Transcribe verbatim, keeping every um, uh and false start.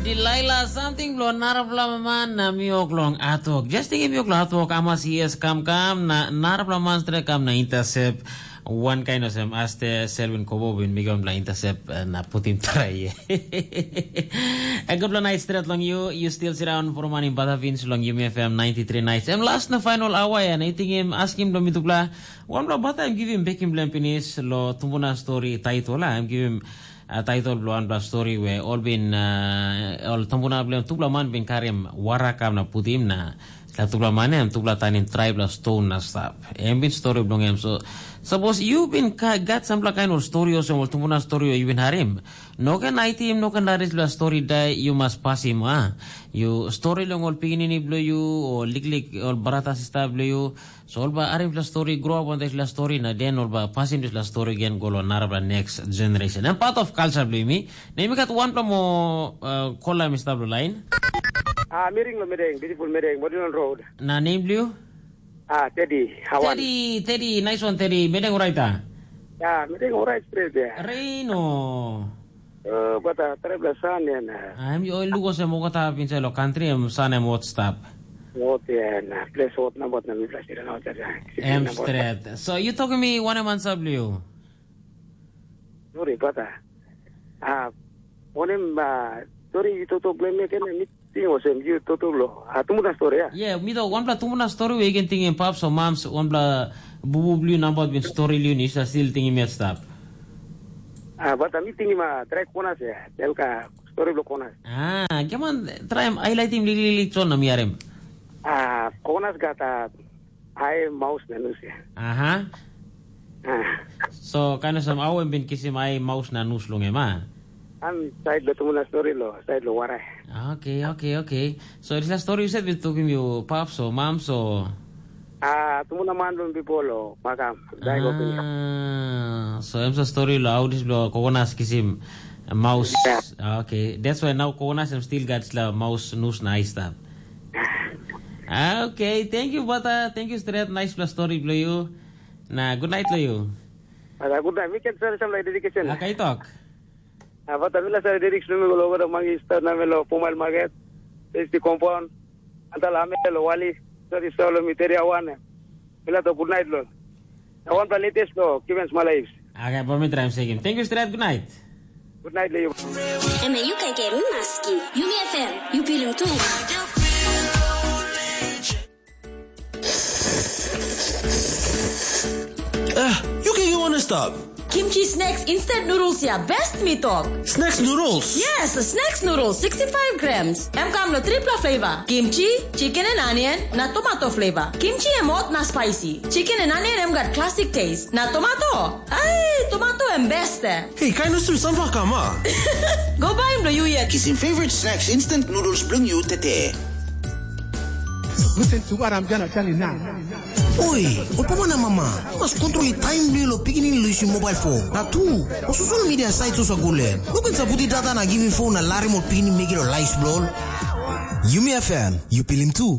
Dilaila, samting bilong narapela man na miok long atok. Just tingim miok long atok, amas yes kam kam na narapela man stret kam na intercept. Wan kain olsem aste Selwyn Kobo bin mekim wanpela intercept eh, na putim trai. A gutpela nait stret long yu. Yu stil siraun poromanim batavins long Yumi F M ninety-three nights. Em last na final awa ya na i tingim askim long mitupela. Wanpela bata em givim bekim bilem pinis lo tumbuna story title la em givim a title bilong wanpela story we ol bin uh, ol tumbuna bilem tupela man bin karim warakam na putim na la tupela man em tupela tanim traibla ston na stap. Em bin story bilong em so sapos yu bin gat sampela kain ol story olsem ol tumbuna story yu bin harim, no ken aitim, no ken laris la story dai, yu mas pasim a. Yu story long ol pikinini bilong yu o liklik ol brata sista bilong yu. So ol bai harim dispela stori, grow up on dispela stori, na den ol bai pasim dispela stori gen go long narapela next generation. Em part of culture bilong mi. Na mi gat wanpela mo uh, kola mi stap long line. Ah, miring lo mideng, beautiful mideng, Modilon Road. Na name bilong you? Ah, Teddy, Hawan. Teddy, Teddy, nice one Teddy. Mideng right ah. Ya, mideng alright straight ya. Reino. Uh, but uh, terrible sun ya na. Em yu oi luko se mokota pinse lo country em sun em hot stap. Hot ya na. Place hot na bot na mi place na hot ya. Em straight. So you talking me one man sab liu. Sorry, but uh, uh, onem uh, sorry you to to blame me again. Ting olsem yu toto lo. Ah, tumu na story ya. Yeah, mi do wanpela tumu na story we again tingim paps o mams wanpela bubu bliu nambat bin story liu ni sa still tingim yet stap. Ah, but mi tingim a try konas ya. Tel ka story lo konas. Ah, come on, try highlight him lili lili chon na mi arem. Ah, konas gat a ai maus na nus ya. Aha. Ah. So, kind of some awem bin kisim ai maus na nus long em, ah? An side lo tumu na story lo, side lo warai. Okay, okay, okay. So, it's a story you said with talking you pops or moms or Ah, tumu na man lo people lo, makam. Dai go pin. Ah, so em sa story lo how this lo kokonas kisim maus. Yeah. Ah, okay, that's why now kokonas em still got la maus nus na ai stap. Ah, okay, thank you bata, thank you straight, nice pla story blo you. Na good night lo you. Ada good night. Weekend sa sa lai dedication. Ah, kai talk. Apa tapi lah saya dedik sumi kalau kada mangi start na melo pumal market. Safety compound. Antal ame lo wali. Sorry solo mi teri awan. Mila to good night lo. Na wan pla latest lo Kivens Malaives. Okay, pa mi try him second. Thank you straight. Good night. Good night lo you. Eme yu kaikai mi maski. Yumi F M, yu pilim tu. Eh, yu kaikai wana stap. Kimchi snacks instant noodles ya best mi tok. Snacks noodles? Yes, snacks noodles sixty-five grams. Em kam lo tripla flavor. Kimchi, chicken and onion, na tomato flavor. Kimchi em hot na spicy. Chicken and onion em gat classic taste. Na tomato. Ai, tomato em best eh. Hey, kain olsem sampela kam a? Go baim lo yu yet. Kisim favorite snacks instant noodles bilong yu tete. Listen to what I'm gonna tell you now. Oi, ol papa na mama, mas kontrol i taim bilong lo pikinini lo yusim mobile phone. Na tu, o social media sites osa go len. No ken saputi data na givim phone na larim ol pikinini mekim lo lives bilong ol. Yumi F M, yu pilim tu.